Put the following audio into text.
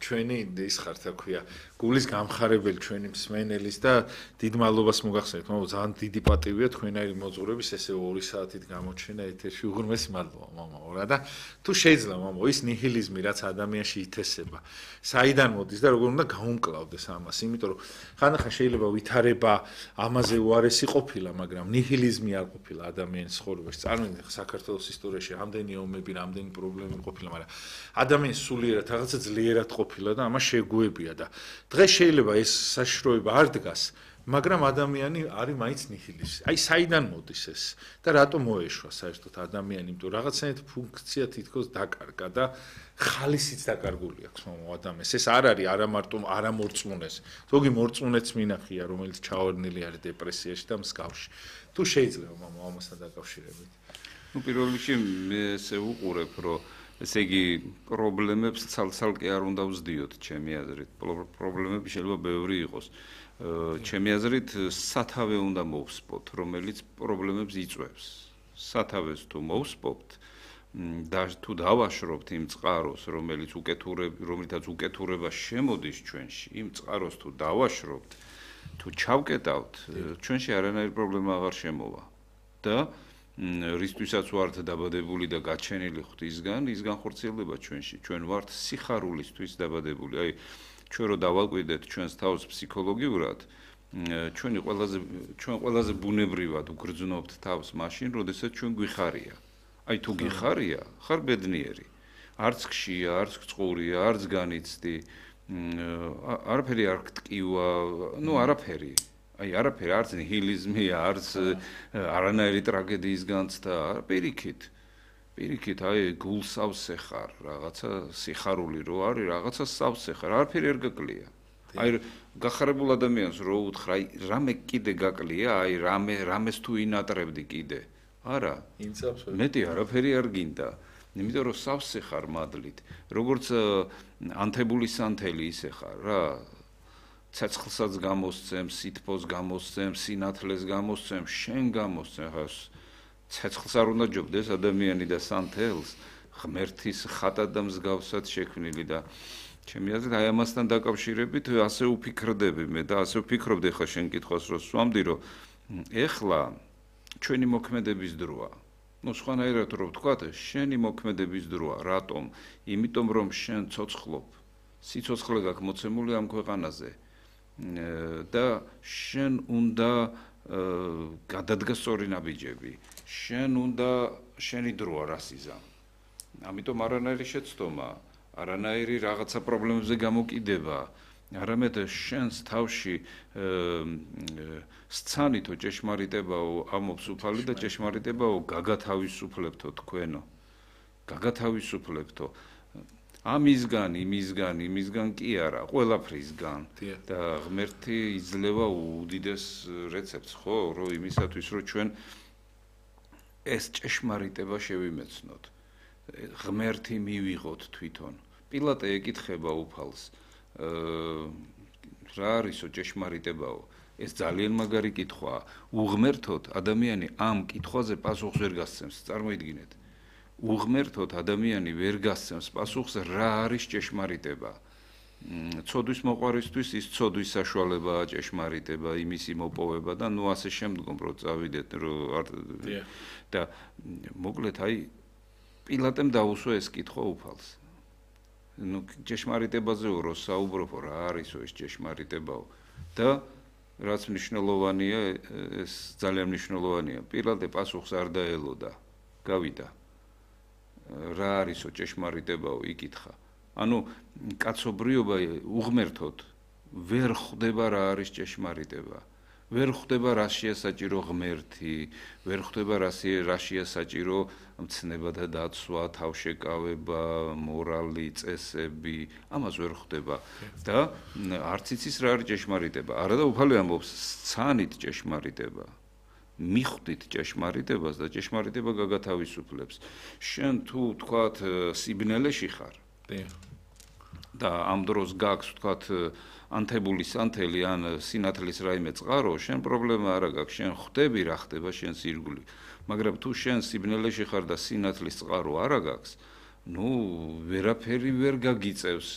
ჩვენი ის ხარ, რა ქვია, გულის გამხარებელი ჩვენი მსმენელის და დიდ მადლობას მოგახსენებთ. მამო, ძალიან დიდი პატივია თქვენაირი მოძღვრების ესე 2 საათით გამოჩენა ეთერში. უღრმესი მადლობა, მამო, რა და თუ შეიძლება, მამო, ის ნიჰილიზმი, რაც ადამიანში ითესება, საიდან მოდის და როგორ უნდა გაუმკლავდეს ამას, იმიტომ რომ ხანდახან შეიძლება ვითარება ამაზე უარესი ყოფილა, მაგრამ ნიჰილიზმი არ ყოფილა ადამიანის ცხოვრებაში. წარმოიდგინეთ, საქართველოს ისტორიაში რამდენი ომები, რამდენი პრობლემები ყოფილა, მაგრამ ადამიანის სულიერად რაღაცა ძლიერად ყოფილა და ამას შეგუებია და დღეს შეიძლება ეს საშიშროება არ დგას, მაგრამ ადამიანი არის მაინც ნიჰილისტი. აი საიდან მოდის ეს და რატომ მოეშვა საერთოდ ადამიანი, იმიტომ რაღაცნაირად ფუნქცია თითქოს დაკარგა და ხალისიც დაკარგული აქვს ადამიანს. ეს არ არის არა მარტო არა მორწმუნეს, ზოგი მორწმუნეც მინახია, რომელიც ჩავარდნილი არის დეპრესიაში და მსგავში. თუ შეიძლება მამო ამასთან დაკავშირებით. ნუ პირველ რიგში მე ესე უყურებ, რომ ესე იგი პრობლემებს ცალ-ცალკე არ უნდა ვზდიოთ, ჩემი აზრით. პრობლემები შეიძლება ბევრი იყოს. ჩემი აზრით სათავე უნდა მოვსპოთ, რომელიც პრობლემებს იწვევს. სათავეს თუ მოვსპობთ და თუ დავაშრობთ იმ წყაროს, რომლითაც უკეთურება შემოდის ჩვენში, იმ წყაროს თუ დავაშრობთ, თუ ჩავკეტავთ, ჩვენში არანაირი პრობლემა აღარ შემოვა. და რისთვისაც ვართ დაბადებული და გაჩენილი ღვთისგან, ის განხორციელდება ჩვენში. ჩვენ ვართ სიხარულისთვის დაბადებული. აი ჩვენ რო დავაკვირდეთ ჩვენს თავს ფსიქოლოგიურად, ჩვენ ყველაზე ბუნებრივად უგრძნობთ თავს მაშინ, როდესაც ჩვენ გვიხარია. აი თუ გიხარია, ხარ ბედნიერი. არც ხშია, არც წყურია, არც განიცდი, არაფერი არ გტკივა, ნუ არაფერი. აი არაფერი, არც ნიჰილიზმია, არც არანაირი ტრაგედიის განცდა, პირიქით. პირიქით, აი გულს ავსეხარ, რაღაცა სიხარული რო არის, რაღაცა ავსეხარ, არაფერი არ გაკლია. აი გახარებულ ადამიანს რო უთხრა, აი რამე კიდე გაკლია, აი რამეს თუ ინატრებდი კიდე. არა, მეტი არაფერი არ გინდა. იმიტომ რომ სავსეხარ მადლით, როგორც ანთებული სანთელი ისე ხარ რა. ცეცხლსაც გამოსცემ, სითბოს გამოსცემ, სინათლეს გამოსცემ, შენ გამოსცემ, ხა ცეცხლს არ უნდა ჯობდეს ადამიანი და სანთელს, ღმერთის ხატად და მსგავსად შექმნილი და ჩემი აზრით აი ამასთან დაკავშირებით ასე ვფიქრდები მე და ასე ვფიქრობდი ხა შენ კითხვას რო სვამდი, რომ ეხლა ჩვენი მოქმედების დროა. ნუ სხვანაირად რო ვთქვათ, შენი მოქმედების დროა. რატომ? იმიტომ რომ შენ ცოცხლობ. სიცოცხლე გაქვს მოცემული ამ ქვეყანაზე. და შენ უნდა გადადგას სწორი ნაბიჯები. შენ უნდა შენი დროა რას იზამ. ამიტომ არანაირი შეცდომა, არანაირი რაღაცა პრობლემებზე გამოკიდება, არამედ შენს თავში სცანითო ჭეშმარიტებაო ამობს უფალი და ჭეშმარიტებაო გაგათავისუფლებთო თქვენო. გაგათავისუფლებთო. იმისგან კი არა, ყველაფრისგან და ღმერთი იძლევა უდიდეს რეცეპტს, ხო, რომ იმისათვის, რომ ჩვენ ეს ჭეშმარიტება შევიმეცნოთ. ღმერთი მივიღოთ თვითონ. პილატე ეკითხება უფალს, რა არისო ჭეშმარიტებაო? ეს ძალიან მაგარი კითხვაა. უღმერთოდ ადამიანი ამ კითხვაზე პასუხს ვერ გასცემს, წარმოიდგინეთ. უღმერთოდ ადამიანი ვერ გასცემს პასუხს რა არის ჭეშმარიტება. ცოდვის მოყვარისთვის ის ცოდვის საშუალებაა ჭეშმარიტება, იმისი მოპოვება და ნუ ასე შემდგომ რო წავიდეთ და მოკლედ აი პილატემ დაუსვა ეს კითხვა უფალს. ნუ ჭეშმარიტებაზე რო საუბრობ, რა არისო ეს ჭეშმარიტებაო და რაც მნიშვნელოვანია, ეს ძალიან მნიშვნელოვანია. პილატე პასუხს არ დაელოდა, გავიდა. რა არისო ჭეშმარიტებაო იკითხა. ანუ კაცობრიობა უღმერთოდ ვერ ხვდება რა არის ჭეშმარიტება. ვერ ხვდება რაშია საჭირო ღმერთი, ვერ ხვდება რაშია საჭირო მცნება და დაცვა, თავშეკავება, მორალი, წესები, ამას ვერ ხვდება და არც იცის რა არის ჭეშმარიტება. არა და უფალი ამბობს, სცანით ჭეშმარიტება. მიხვდით ჭეშმარიტებას და ჭეშმარიტება გაგათავისუფლებს. შენ თუ თქვათ სიბნელეში ხარ და ამ დროს გაქვს თქვათ ანთებული სანთელი ან სინათლის რაიმე წყარო, შენ პრობლემა არა გაქვს, შენ ხვდები რა ხდება შენს ირგვლივ. მაგრამ თუ შენ სიბნელეში ხარ და სინათლის წყარო არა გაქვს, ნუ ვერაფერი ვერ გაგიწევს